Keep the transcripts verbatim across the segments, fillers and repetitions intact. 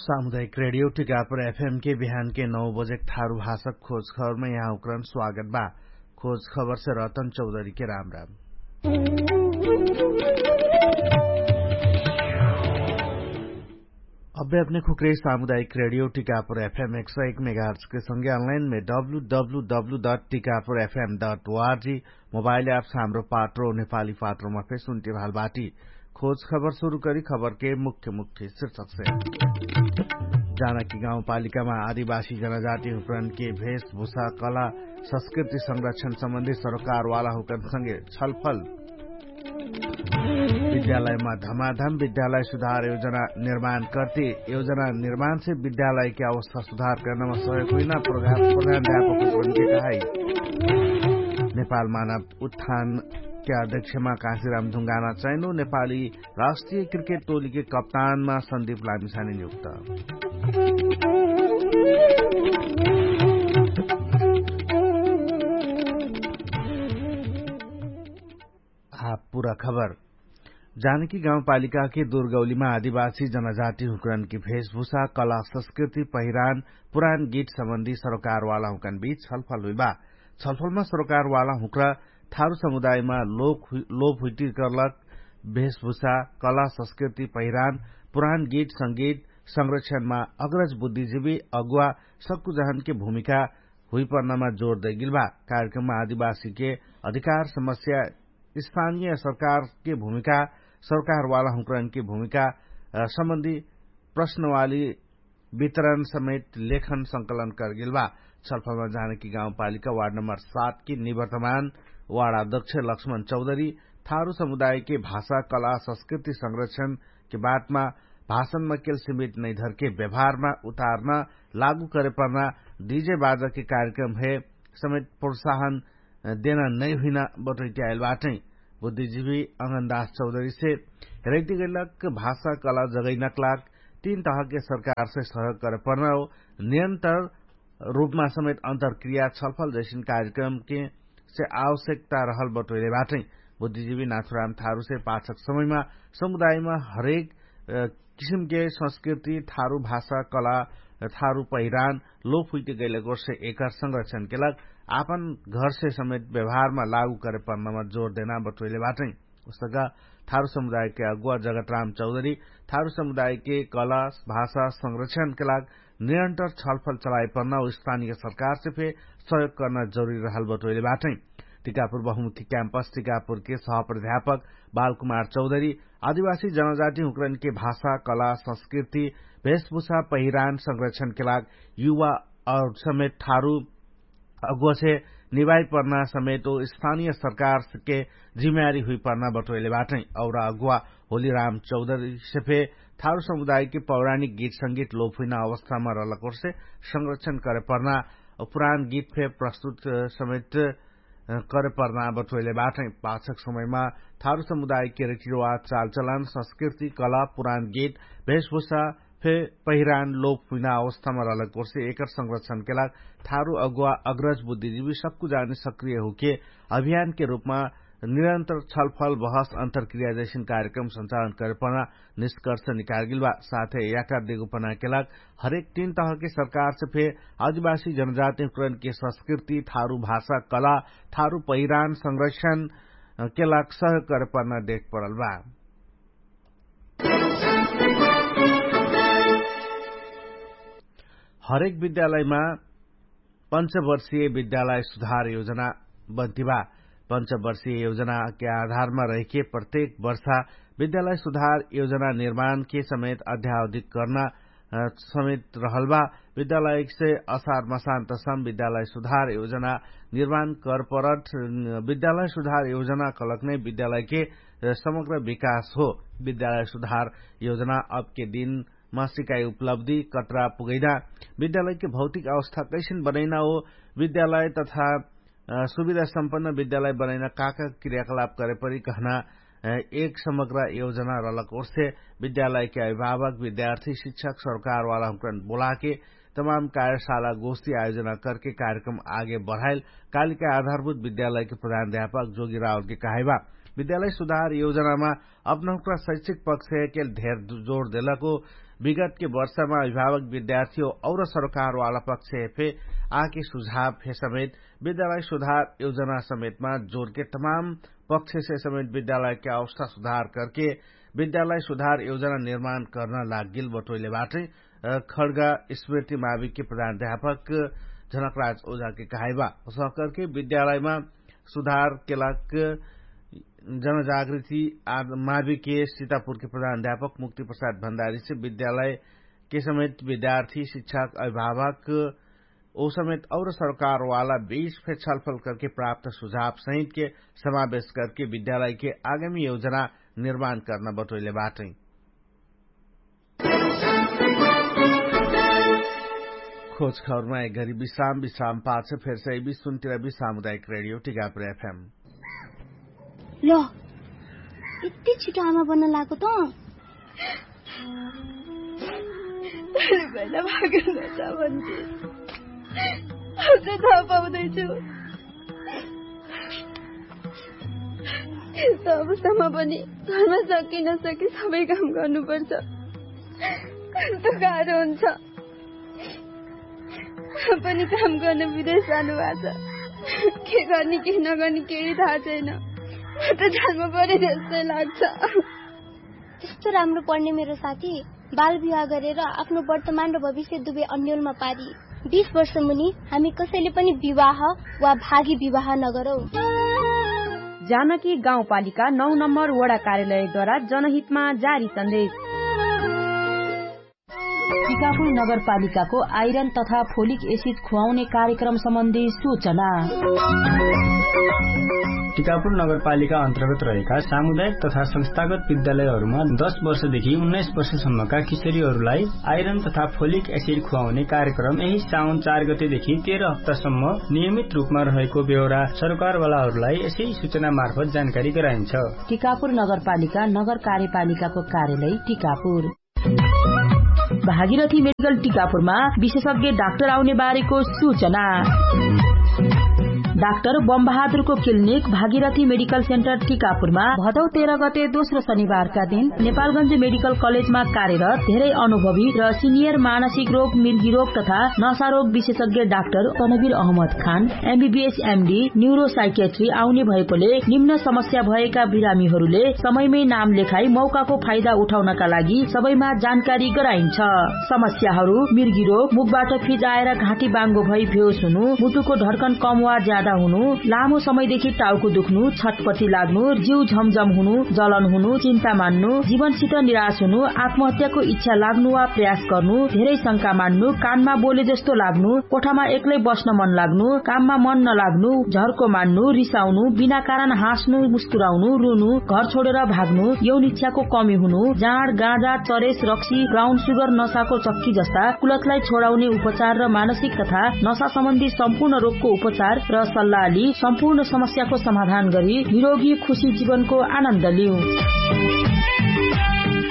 सामुदायिक रेडियो टिकापुर एफएम के बिहान के नौ बजेक थारु भाषक खोज खबरमा यहाँ उक्रन स्वागत बा। खोज खबर से रतन चौधरी के राम राम। अब्बे अपने खुक्रे सामुदायिक रेडियो टिकापुर एफएम एक सौ एक मेगाहर्ट्स के संगे अनलाइन में W W W dot Tikapur FM dot ORG mobile apps Hamro Patro नेपाली पात्रोमा फेर सुन्टिभाल बाटी। खोज खबर सुरु करी खबर के मुख्य मुख्य शीर्षक से। जानकी गाउँपालिकामा आदिवासी जनजाति हुकरन के भेषभूषा कला संस्कृति संरक्षण सम्बन्धी सरोकारवाला हुकरन संगे छलफल। विद्यालयमा धमाधम विद्यालय सुधार योजना निर्माण कर्ति योजना निर्माण से विद्यालय के अवस्था सुधार कर्नमा सहयोग हुइना प्रधान प्रधान व्यापक हुकरन के कहाई। नेपाल मानव उत्थान के अध्यक्षमा काशीराम ढुङ्गाना चैनो नेपाली राष्ट्रिय क्रिकेट टोली के कप्तानमा सन्दीप लामिसानी नियुक्त। आ पुरा खबर। जानकी गाउँपालिकाके दुर्गौलीमा आदिवासी जनजाति हुँकरनकी भेषभूषा कला संस्कृति पहिरान पुरान गीत सम्बन्धी सरोकारवाला हुँकन बीच छलफल हुइबा। छलफलमा सरोकारवाला हुँक्रा थारु समुदायमा लोप हुइटिकरलक भेषभूषा कला संस्कृति पहिरान पुरान गीत संगीत संरक्षणमा अग्रज बुद्धिजीवी अगुवा सक्कु जहनके भूमिका हुइपर्नामा जोर दैगिलबा। कार्यक्रममा आदिवासीके अधिकार समस्या स्थानीय सरकारके भूमिका सरोकारवाला हुँकरनके भूमिका सम्बन्धी प्रश्नवाली वितरण समेत लेखन संकलन करगेल बा। छलफलमा जानकी गाउँपालिका वार्ड नम्बर सात के निवर्तमान वार्ड अध्यक्ष लक्ष्मण चौधरी थारु समुदायके भाषा कला संस्कृति संरक्षणके बातमा भाषणमा केल सीमित नैधरके व्यवहारमा उतार्न लागू करेपर्ना डिजे बाजके कार्यक्रम हे समेत प्रोत्साहन देना नै हुइना बटोइट्याएल बाटै। बुद्धिजीवी अङ्गनदास चौधरीसे हेरैतिगैलक भाषा कला जगैनक लाग तीन तहके सरकारसे सहयोग करेपर्ना हो नियन्तर रूपमा समेत अन्तरक्रिया छलफल जैसिन कार्यक्रमके से आवश्यकता रहल बटोइले बाटै। बुद्धिजीवी नाथुराम थारुसे पाछक समयमा समुदायमा हरेक किसिमके संस्कृति थारु भाषा कला थारु पहिरान लोप हुइते गैलक ओर्से एकर संरक्षणके लाग आपन घरसे समेत व्यवहारमा लागू करेपर्नामा जोर देना बटोइले बाटै। उसका थारु समुदायके अगुवा जगतराम चौधरी थारु समुदायके कला भाषा संरक्षणके लाग निरन्तर छलफल चलाइपर्ना उ स्थानीय सरकारसे फे सहयोग कर्ना जरुरी रहल बटोइले बाटै। टिकापुर बहुमुखी क्याम्पस टिकापुरके सहप्राध्यापक बालकुमार चौधरी आदिवासी जनजाति हुँकरनके भाषा कला संस्कृति भेषभूषा पहिरान संरक्षणके लाग युवा और समेत ठारु अगुवासे निभाइपर्ना समेत ओ स्थानीय सरकारके जिम्मेवारी हुइपर्ना बटोइले बाटै। और अगुवा होली राम चौधरीसे फे थारु समुदायके पौराणिक गीत संगीत लोप हुइना अवस्थामा रहलक ओर्से संरक्षण करेपर्ना पुरान गीत फे प्रस्तुत समेत करेपर्ना बटोइले बाटै। पाछक समयमा थारु समुदायके रिटिरोवा चालचलन संस्कृति कला पुरान गीत भेषभूषा फे पहिरान लोप हुइना अवस्थामा रहलक ओर्से एकर संरक्षणके लाग थारु अगुवा अग्रज बुद्धिजीवी सक्कु जाने सक्रिय हुके अभियानके रूपमा निरन्तर छलफल बहस अन्तरक्रिया जैसिन कार्यक्रम संचालन करेपर्ना निष्कर्ष निकालगिल बा। साथै याकार देगो पनाके लाग हरेक तीन तहके सरकारसे फे आदिवासी जनजातिकरणके संस्कृति थारु भाषा कला थारु पहिरान संरक्षणके लाग सहयोग करेपर्ना देख परल बा। हरेक विद्यालयमा पञ्चवर्षीय विद्यालय सुधार योजना बन्तिबा। पञ्चवर्षीय योजनाके आधारमा रहिके प्रत्येक वर्षा विद्यालय सुधार योजना निर्माणके समेत अध्यावधिक कर्ना समेत रहलबा। विद्यालयसे असार मसान्तसम विद्यालय सुधार योजना निर्माण कर्परट विद्यालय सुधार योजना कलक नै विद्यालयके समग्र विकास हो। विद्यालय सुधार योजना अबके दिन मासिकाई उपलब्धि कत्रा पुगैना विद्यालयके भौतिक अवस्था कैसिन बनैना हो विद्यालय तथा सुविधा सम्पन्न विद्यालय बनैना काका क्रियाकलाप करेपरि कहना एक समग्र योजना रहलक ओर्से विद्यालयके अभिभावक विद्यार्थी शिक्षक सरकारवाला हुँकरन बोलाके तमाम कार्यशाला गोष्ठी आयोजना करके कार्यक्रम आगे बढाइल कालिका आधारभूत विद्यालयके प्रधान अध्यापक जोगी रावलके कहाइबा। विद्यालय सुधार योजनामा अपनहुँक्रा शैक्षिक पक्ष हेकेल धेर जोर देलको विगतके वर्षमा अभिभावक विद्यार्थी और सरकारवाला पक्ष हेफे आके सुझाव हे समेत विद्यालय सुधार योजना समेतमा जोरके तमाम पक्षसे समेत विद्यालयके अवस्था सुधार करके विद्यालय सुधार योजना निर्माण कर्ना लाग्गिल बटोइले बाटै। खड्गा स्मृति माविकके प्रधान अध्यापक झनकराज ओझाके कहाइबा उसह करके विद्यालयमा सुधार केलाक जनजागृति माविके सीतापुरके प्रधान अध्यापक मुक्ति प्रसाद भण्डारीसे विद्यालयके समेत विद्यार्थी शिक्षक अभिभावक ओ समेत और सरकारवाला बीच फे छलफल करके प्राप्त सुझाव सहितके समावेश करके विद्यालयके आगामी योजना निर्माण कर्ना बटोइले बाटै। खोज खबरमा एक घरी विश्राम विश्राम पाछ फेर से बिसुन्तिर बि सामुदायिक रेडियो टिकापुर एफएम। ल, यति छिटो आमा बन्न लागो त? अरे बहिना भागेर नजा भन्थे। अब चाहिँ थाहा पाउँदैछु। यस्तो अवस्थामा पनि घरमा सके नसके सबै काम गर्नुपर्छ। कस्तो गाह्रो हुन्छ। पनि काम गर्न विदेश जानुभएको छ। के गर्ने के नगर्ने केही थाहा छैन। म त जान्नु पर्यो जस्तै लाग्छ। त्यस्तो राम्रो पढ्ने मेरो साथी बाल विवाह गरेर आफ्नो वर्तमान र भविष्य दुवै अन्यलमा पारी। बिस वर्ष मुनि हामी कसैले पनि विवाह वा भागी विवाह नगरौ। जानकी गाउँपालिका नौ नम्बर वडा कार्यालयद्वारा जनहितमा जारी सन्देश। टिकापुर नगरपालिकाको आइरन तथा फोलिक एसिड खुवाउने कार्यक्रम सम्बन्धी सूचना। टिकापुर नगरपालिका अन्तर्गत रहेका सामुदायिक तथा संस्थागत विद्यालयहरूमा दस वर्षदेखि उन्नाइस वर्षसम्मका किशोरीहरूलाई आइरन तथा फोलिक एसिड खुवाउने कार्यक्रम यही साउन चार गतेदेखि तेह्र हप्तासम्म नियमित रूपमा रहेको बेहोरा सरकारवालाहरूलाई यसै सूचना मार्फत जानकारी गराइन्छ। टिकापुर नगरपालिका नगर कार्यपालिकाको कार्यालय टिकापुर। भागीरथी मेडिकल टिकापुरमा विशेषज्ञ डाक्टर आउने बारेको सूचना। डाक्टर बमबहादुरको क्लिनिक भागीरथी मेडिकल सेन्टर टिकापुरमा भदौ तेह्र गते दोस्रो शनिबारका दिन नेपालगञ्ज मेडिकल कलेजमा कार्यरत धेरै अनुभवी र सिनियर मानसिक रोग मिर्गी रोग तथा नशा रोग विशेषज्ञ डाक्टर तनवीर अहमद खान एमबीबीएस एमडी न्युरोसाइकेट्री आउने भएकोले निम्न समस्या भएका बिरामीहरूले समयमै नाम लेखाई मौकाको फाइदा उठाउनका लागि सबैमा जानकारी गराइन्छ। समस्याहरू मिर्गी रोग मुखबाट फिजाएर घाँटी बाङ्गो भई भेउस हुनु मुटुको ढर्कन कम वा ज्यादा हुनु लामो समयदेखि टाउको दुख्नु छटपटी लाग्नु जिउ झमझम हुनु जलन हुनु चिन्ता मान्नु जीवनसित निराश हुनु आत्महत्याको इच्छा लाग्नु वा प्रयास गर्नु धेरै शंका मान्नु कानमा बोले जस्तो लाग्नु कोठामा एक्लै बस्न मन लाग्नु काममा मन नलाग्नु झर्को मान्नु रिसाउनु बिना कारण हाँस्नु मुस्कुराउनु रुनु घर छोडेर भाग्नु यौन इच्छाको कमी हुनु जाँड गाँजा चरेस रक्सी ब्राउन सुगर नसाको चक्की जस्ता कुलतलाई छोडाउने उपचार र मानसिक तथा नसा सम्बन्धी सम्पूर्ण रोगको उपचार र सल्लाह लि सम्पूर्ण समस्याको समाधान गरी निरोगी खुशी जीवनको आनन्द लिउ।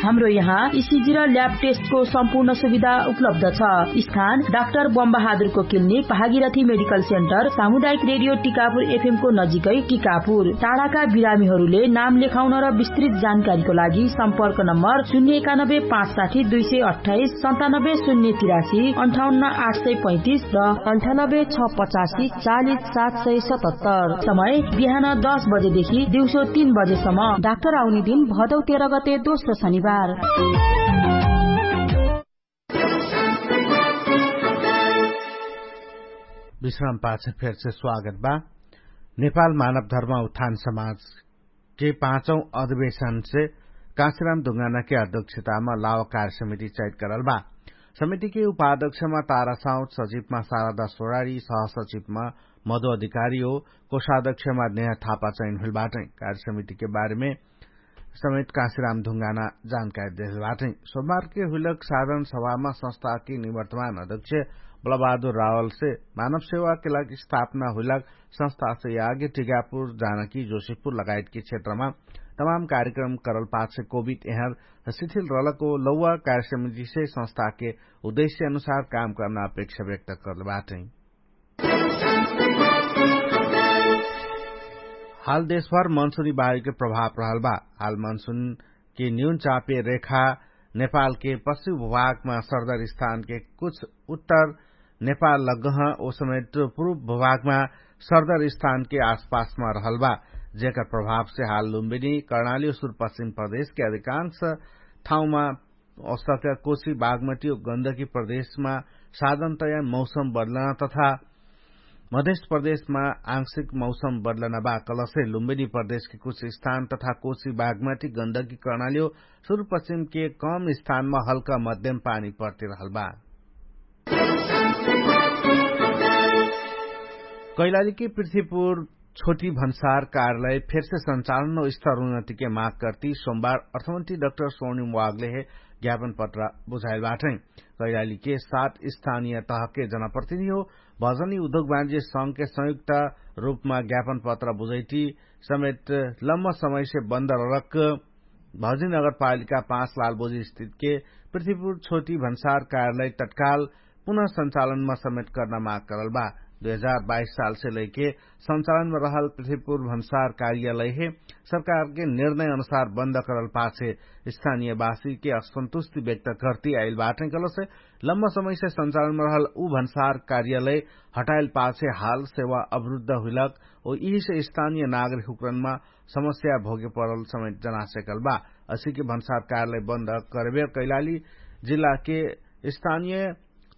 हाम्रो यहाँ इसिजी र ल्याब टेस्टको सम्पूर्ण सुविधा उपलब्ध छ। स्थान डाक्टर बमबहादुरको क्लिनिक भागीरथी मेडिकल सेन्टर सामुदायिक रेडियो टिकापुर एफएमको नजिकै टिकापुर। टाढाका बिरामीहरूले नाम लेखाउन र विस्तृत जानकारीको लागि सम्पर्क नम्बर शून्य एकानब्बे पाँच साठी दुई सय अट्ठाइस सन्तानब्बे शून्य तिरासी अन्ठाउन्न आठ सय पैँतिस र अन्ठानब्बे छ पचासी चालिस सात सय सतहत्तर। समय बिहान दस बजेदेखि दिउँसो तीन बजेसम्म। डाक्टर आउने दिन भदौ तेह्र गते दोस्रो शनिबार। विश्राम पाछ फेर से स्वागत बा। नेपाल मानव धर्म उत्थान समाज के पाँचौ अधिवेशन से काशीराम दुंगाना के अध्यक्षता मा लावा कार्य समिति चयत करल बा। समिति के उपाध्यक्ष मा तारा साउत सचिव मा सारा दसोरारी सह सचिव मा मधु अधिकारी हो कोषाध्यक्ष मा नेहा थापा चयन हुइल बाटै। कार्य समिति के बारे में समेत काशीराम धुंगाना जानकारी देहल बाटै। सोमबार के हुइलक साधन सभा मा संस्था के निवर्तमान अध्यक्ष बलबहादुर रावल से मानव सेवा के लागि स्थापना हुइलक संस्था से आगे टिकापुर जानकी जोशीपुर लगायत के क्षेत्र मा तमाम कार्यक्रम करल पाछ कोभिड एहर शिथिल रहलको लौवा कार्य समिति से संस्था के उद्देश्य अनुसार काम करना अपेक्षा व्यक्त करल बाटै। हाल देशभर मनसुनी बायुके प्रभाव रहल बा। हाल मनसुनके न्यून चापे रेखा नेपालके पश्चिम भूभागमा सरदर स्थानके कुछ उत्तर नेपाल लग्गह ओ समेट पुरुब भूभागमा सरदर स्थानके आसपासमा रहल बा। जेकर प्रभावसे हाल लुम्बिनी कर्णाली ओ सुरपश्चिम प्रदेशके अधिकांश ठाउँमा औसका कोशी बागमटी ओ गन्दगी प्रदेशमा साधनतया मौसम बदलना तथा मधेश प्रदेशमा आंशिक मौसम बदलना बा। कलसे लुम्बिनी प्रदेशके कुछ स्थान तथा कोशी बागमटी गन्दगी कर्णाली ओ सुरपश्चिमके कम स्थानमा हल्का मध्यम पानी पर्तिरहल बा। कैलालीके पृथ्वीपुर छोटी भन्सार कार्यालय फेरसे सञ्चालन ओ स्तर उन्नतिके माग कर्ति सोमबार अर्थमन्त्री डाक्टर सोनिम वागलेहे ज्ञापन पत्र बुझाइल बाटै। कैलालीके सात स्थानीय तहके जनप्रतिनिधि हो भजनी उद्योग वाणिज्य संघके संयुक्त रूपमा ज्ञापन पत्र बुझैटी समेत लम्म समयसे बन्द रलक भजनी नगरपालिका पाँच लालबोजी स्थितके पृथ्वीपुर छोटी भन्सार कार्यालय तत्काल पुनः सञ्चालनमा समेट कर्ना माग करल बा। दुई हजार बाइस सालसे लैके सञ्चालनमा रहल पृथ्वीपुर भन्सार कार्यालय हे सरकारके निर्णय अनुसार बन्द करल पाछे स्थानीयवासीके असन्तुष्टि व्यक्त कर्ति आइल बाटै कलसे लम्म समयसे सञ्चालनमा रहल उ भन्सार कार्यालय हटाइल पाछे हाल सेवा अवरुद्ध हुइलक ओ यिहिसे स्थानीय नागरिक हुक्रनमा समस्या भोगे परल समेत जनासेकल बा। असिके भन्सार कार्यालय बन्द करबे कैलाली जिल्लाके स्थानीय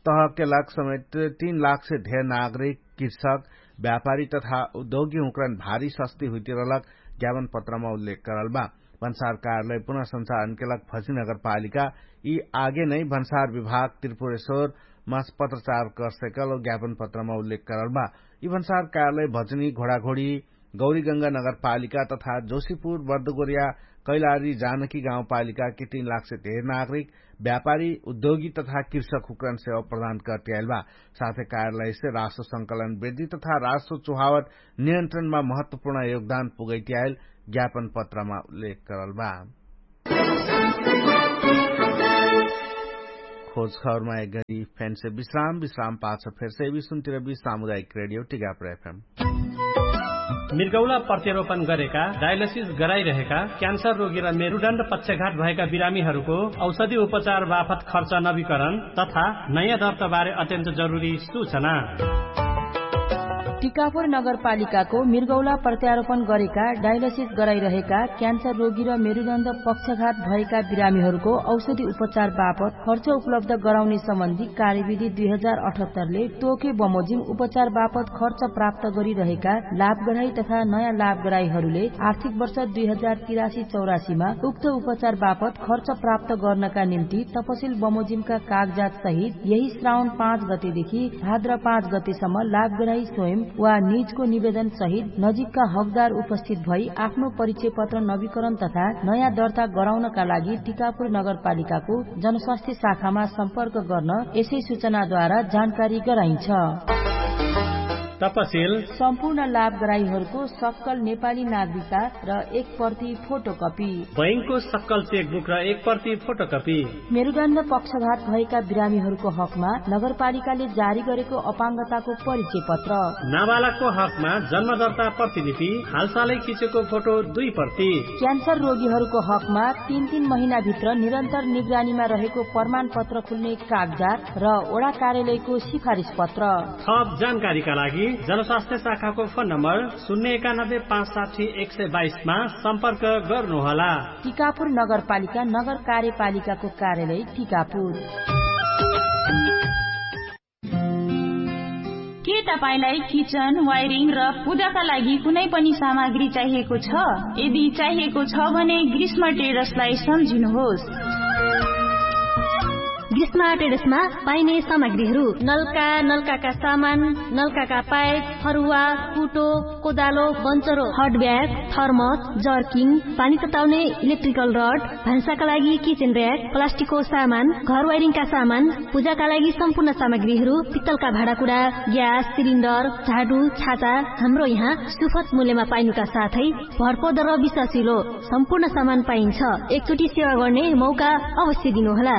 तहके लाग समेत तीन लाखसे धेर नागरिक कृषक व्यापारी तथा उद्योगी हुक्रन भारी सस्ती हुइतिरलक ज्ञापन पत्रमा उल्लेख करल बा। भन्सार कार्यालय पुनः सञ्चालनके लाग भजनी नगरपालिका यि आगे नै भन्सार विभाग त्रिपुरेश्वर मास पत्रचार करसेकल ज्ञापन पत्रमा उल्लेख करल बा। यि भन्सार कार्यालय भजनी घोडाघोडी गौरीगंगा नगरपालिका तथा जोशीपुर बर्दगोरिया कैलारी जानकी गाउँपालिकाके तीन लाखसे धेर नागरिक व्यापारी उद्योगी तथा कृषक हुक्रन सेवा प्रदान कर्ति आइल बा। साथै कार्यालयसे राष्ट्र संकलन वृद्धि तथा राष्ट्र चुहावट नियन्त्रणमा महत्वपूर्ण योगदान पुगैति आइल ज्ञापन पत्रमा उल्लेख करल बा। खोज खबरमा एक गरी फेन्से विश्राम विश्राम पाछ फेर्से विश्वन्तिर विश्राम उदायक रेडियो टिगाप्र एफएम। मिर्गौला प्रत्यारोपण गरेका डायलसिस गराइरहेका क्यान्सर रोगी र मेरुडण्ड पक्षघात भएका बिरामीहरूको औषधि उपचार बाफत खर्च नवीकरण तथा नयाँ दर्ताबारे अत्यन्त जरुरी सूचना। टिकापुर नगरपालिकाको मिर्गौला प्रत्यारोपण गरेका डायलसिस गराइरहेका क्यान्सर रोगी र मेरुडण्ड पक्षघात भएका बिरामीहरूको औषधि उपचार बापत खर्च उपलब्ध गराउने सम्बन्धी कार्यविधि दुई हजार अठहत्तरले तोके बमोजिम उपचार बापत खर्च प्राप्त गरिरहेका लाभग्राही तथा नयाँ लाभग्राहीहरूले आर्थिक वर्ष दुई हजार तिरासी चौरासीमा उक्त उपचार बापत खर्च प्राप्त गर्नका निम्ति तपसिल बमोजिमका कागजात सहित यही श्रावण पाँच गतेदेखि भाद्र पाँच गतेसम्म लाभग्राही स्वयं वा निजको निवेदन सहित नजिकका हकदार उपस्थित भई आफ्नो परिचय पत्र नवीकरण तथा नयाँ दर्ता गराउनका लागि टिकापुर नगरपालिकाको जनस्वास्थ्य शाखामा सम्पर्क गर्न यसै सूचनाद्वारा जानकारी गराइन्छ। तपसिल सम्पूर्ण लाभग्राहीहरूको सक्कल नेपाली नागरिकता र एक प्रति फोटोकपी बैंकको सक्कल चेकबुक र एक प्रति फोटोकपी। मेरुदण्ड पक्षघात भएका बिरामीहरूको हकमा नगरपालिकाले जारी गरेको अपाङ्गताको परिचय पत्र। नाबालकको हकमा जन्मदर्ता प्रतिलिपि हालसालै खिचेको फोटो दुई प्रति। क्यान्सर रोगीहरूको हकमा तीन तीन महिनाभित्र निरन्तर निगरानीमा रहेको प्रमाणपत्र खुल्ने कागजात र ओडा कार्यालयको सिफारिस पत्र। थप जानकारीका लागि जनस्वास्थ्य शाखाको फोन नम्बर शून्य एकानब्बे पाँच साठी एक सय बाइसमा सम्पर्क गर्नुहोला। टिकापुर नगरपालिका नगर कार्यपालिकाको कार्यालय टिकापुर। के तपाईंलाई किचन वायरिङ र पूजाका लागि कुनै पनि सामग्री चाहिएको छ? यदि चाहिएको छ भने ग्रीष्म टेडर्सलाई सम्झिनुहोस्। ग्रीष्म टेडर्समा पाइने सामग्रीहरू नलका नलकाका सामान, नलकाका पाइप, फरुवा, कुटो, कोदालो, बन्चरो, हटब्याग, थर्मस, जर्किङ, पानी तताउने इलेक्ट्रिकल रड, भान्साका लागि किचेन र्याक, प्लास्टिकको सामान, घर वायरिङका सामान, पूजाका लागि सम्पूर्ण सामग्रीहरू, पित्तलका भाँडाकुँडा, ग्यास सिलिन्डर, झाडु, छाता, हाम्रो यहाँ सुफत मूल्यमा पाइनुका साथै भरपर्दो र विश्वासिलो सम्पूर्ण सामान पाइन्छ। एकचोटि सेवा गर्ने मौका अवश्य दिनुहोला।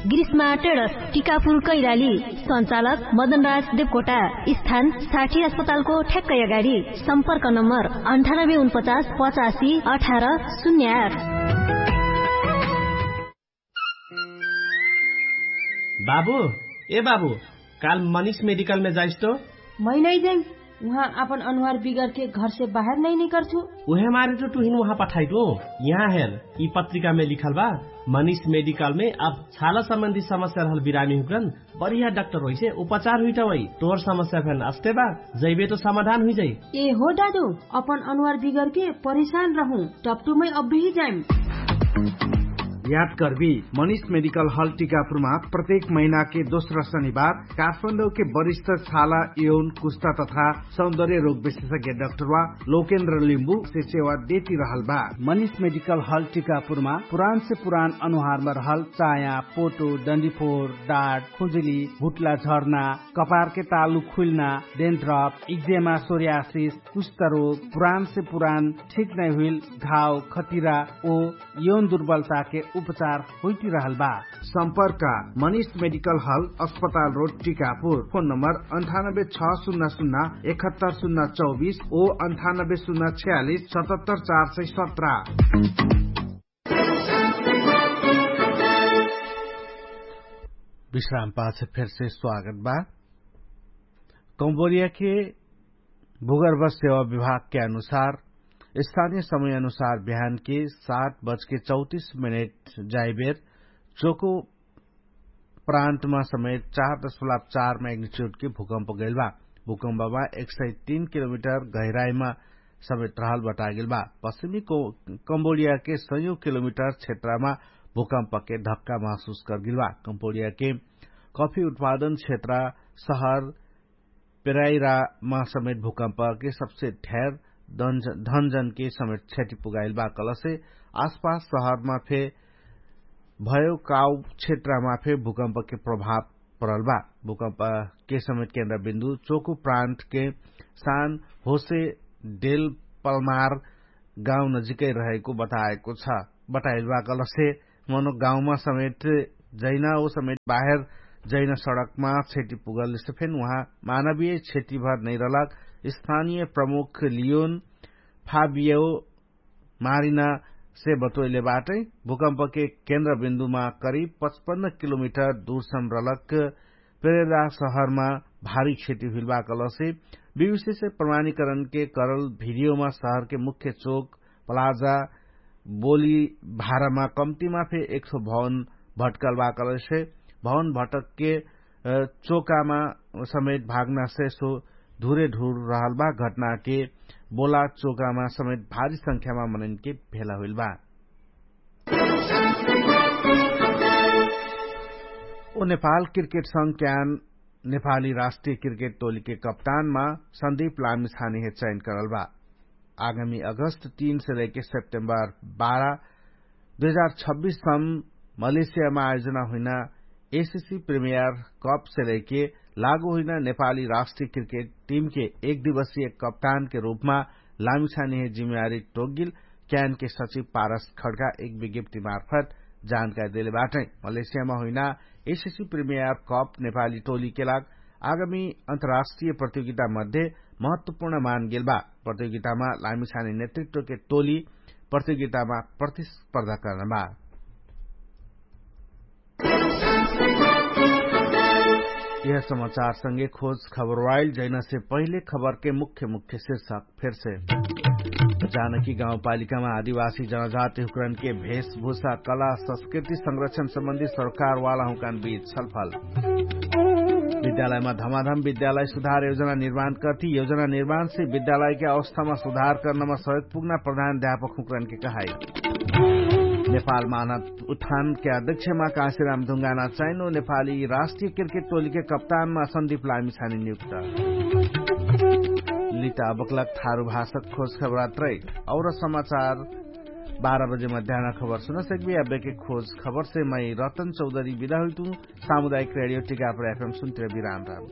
ग्रीष्मा टेडर्स, टिकापुर कैलाली। सञ्चालक मदनराज देवकोटा। स्थान साठी अस्पतालको ठ्याक्कै अगाडि। सम्पर्क नम्बर अन्ठानब्बे उनपचास पचासी अठार शून्य आठ। बाबु, ए बाबु, काल मनिष मेडिकलमे जाइस तो? मै नै जाइम। उहाँ आपन अनुहार बिगरके घरसे बाहेर नै निकर्छु। उहे मारे तो टुहिन उहाँ पठाइदु। यहाँ हेर, यि पत्रिकामे लिखल बा, मनिष मेडिकलमे अब छाला सम्बन्धी समस्या रहल बिरामी हुकरन बढिया डाक्टर होइसे उपचार हुइटवै। तोर समस्या फेन अस्ते बा, जैबे तो समाधान हुइजै। ए हो दादु, अपन अनुहार बिगरके परेशान रहु, टप्टुमै अब्बेही जाइम। याद कर्बी, मनिष मेडिकल हल टिकापुरमा प्रत्येक महिनाके दोस्रा शनिबार काठमाडौके वरिष्ठ छाला, यौन, कुस्ता तथा सौन्दर्य रोग विशेषज्ञ डाक्टरवा लोकेन्द्र लिम्बु से सेवा देति रहल बा। मनिष मेडिकल हल टिकापुरमा पुरान से पुरान अनुहारमा रहल चाया, पोटो, डन्डीफोर, डाट, खुजुली, भुट्ला झर्ना, कपारके तालु खुइल्ना, डेन्ड्रप, इक्जेमा, सोर्यासिस, कुष्ठरोग, पुरान से पुरान ठिक नै हुइल घाव, खतिरा ओ यौन दुर्बलताके उपचार होइटिरहल बा। सम्पर्क मनिष मेडिकल हल, अस्पताल रोड, टिकापुर। फोन नम्बर अन्ठानब्बे छ सुन्ना सुन्ना एकहत्तर सुन्ना चौबिस ओ अन्ठानब्बे सुन्ना छ्यालिस सतहत्तर चार सय सत्र। विश्राम पाछ फेरसे स्वागत बा। कम्बोडियाके भूगर्भ सेवा विभागके अनुसार, स्थानीय समय अनुसार बिहानके सात बजके चौतिस मिनेट जाइबेर चोको प्रान्तमा समेत चार दशमलव चार म्याग्निट्युडके भूकम्प गैल बा। भूकम्पमा एक सय तीन किलोमिटर गहिराइमा समेत रहल बटागेल बा। पश्चिमी कम्बोडियाके सयौं किलोमिटर क्षेत्रमा भूकम्पके धक्का महसुस करगेल बा। कम्बोडियाके कफी उत्पादन क्षेत्र सहर पेराइरामा समेत भूकम्पके सबसे ढेर धनजनके समेत क्षति पुगाइल बा कहलसे आसपास सहरमा फे भयो काउ क्षेत्रमा फे भूकम्पके प्रभाव परल बा। भूकम्पके समेत केन्द्रबिन्दु चोकु प्रान्तके सान होसे डेल पलमार गाउँ नजिकै रहेको बताएको छ। बताइल बा कहलसे मनो गाउँमा समेत जैना ओ समेत बाहेर जैना सडकमा क्षति पुगलसे फेन उहाँ मानवीय क्षति भर नैरलक स्थानीय प्रमुख लियोन फाबियो मारिना से बतोइले बाटै। भूकम्पके केन्द्रबिन्दुमा करिब पचपन्न किलोमिटर दुरसम रलक पेरेरा सहरमा भारी क्षति हुइल बा कहलसे विविशेष प्रमाणीकरणके करल भिडियोमा सहरके मुख्य चोक प्लाजा बोली भारामा कम्तिमा फे एक सौ भवन भटकल बा कहलसे भवन भटकके चोकामा समेत भागनासे सो धुरे ढुर रहल बा। घटनाके बोला चोकामा समेत भारी संख्यामा मनैनके भेला हुइल बा। ओ नेपाल क्रिकेट संघ क्यान नेपाली राष्ट्रिय क्रिकेट टोलीके कप्तानमा सन्दीप लामिछानेहे चयन करल बा। आगामी अगस्त तीन से लैके सेप्टेम्बर बाह्र दुई हजार छब्बिस सम्म मलेसियामा आयोजना हुइना एसिसी प्रिमियर कप से लैके लागु हुइना नेपाली राष्ट्रिय क्रिकेट टिमके एक दिवसीय कप्तानके रूपमा लामिछानेहे जिम्मेवारी टोकगिल क्यानके सचिव पारस खड्का एक विज्ञप्तिमार्फत जानकारी देले बाटै। मलेसियामा हुइना एसिसी प्रिमियर कप नेपाली टोलीके लाग आगामी अन्तर्राष्ट्रिय प्रतियोगिता मध्ये महत्वपूर्ण मानगेल बा। प्रतियोगितामा लामिछाने नेतृत्वके टोली प्रतियोगितामा प्रतिस्पर्धा कर्न बा। यह समाचार संगे खोज खबर वाइल जैना से पहिले खबर के मुख्य मुख्य शीर्षक फेर से। जानकी गाउँपालिकामा आदिवासी जनजाति हुक्रन के भेषभूषा कला संस्कृति संरक्षण सम्बन्धी सरकारवाला हुकन बीच छलफल। विद्यालयमा धमाधम विद्यालय सुधार योजना निर्माण कर्ति योजना निर्माण से विद्यालयके अवस्थामा सुधार कर्नमा सहयोग पुग्ना प्रधान अध्यापक हुक्रन के कहाई। नेपाल मानव उत्थानके अध्यक्षमा कासिराम धुङ्गाना चैनो नेपाली राष्ट्रिय क्रिकेट टोलीके कप्तानमा सन्दीप लामिछानी नियुक्त। लिता अबकलक थारु भाषक खोज खबरात्रै और समाचार बाह्र बजे मध्यान खबर सुन सक्बी। अबेके खोज खबरसे मै रतन चौधरी बिदा हुइतु। सामुदायिक रेडियो टिकापर एफएम सुन्तिर बिराम राम।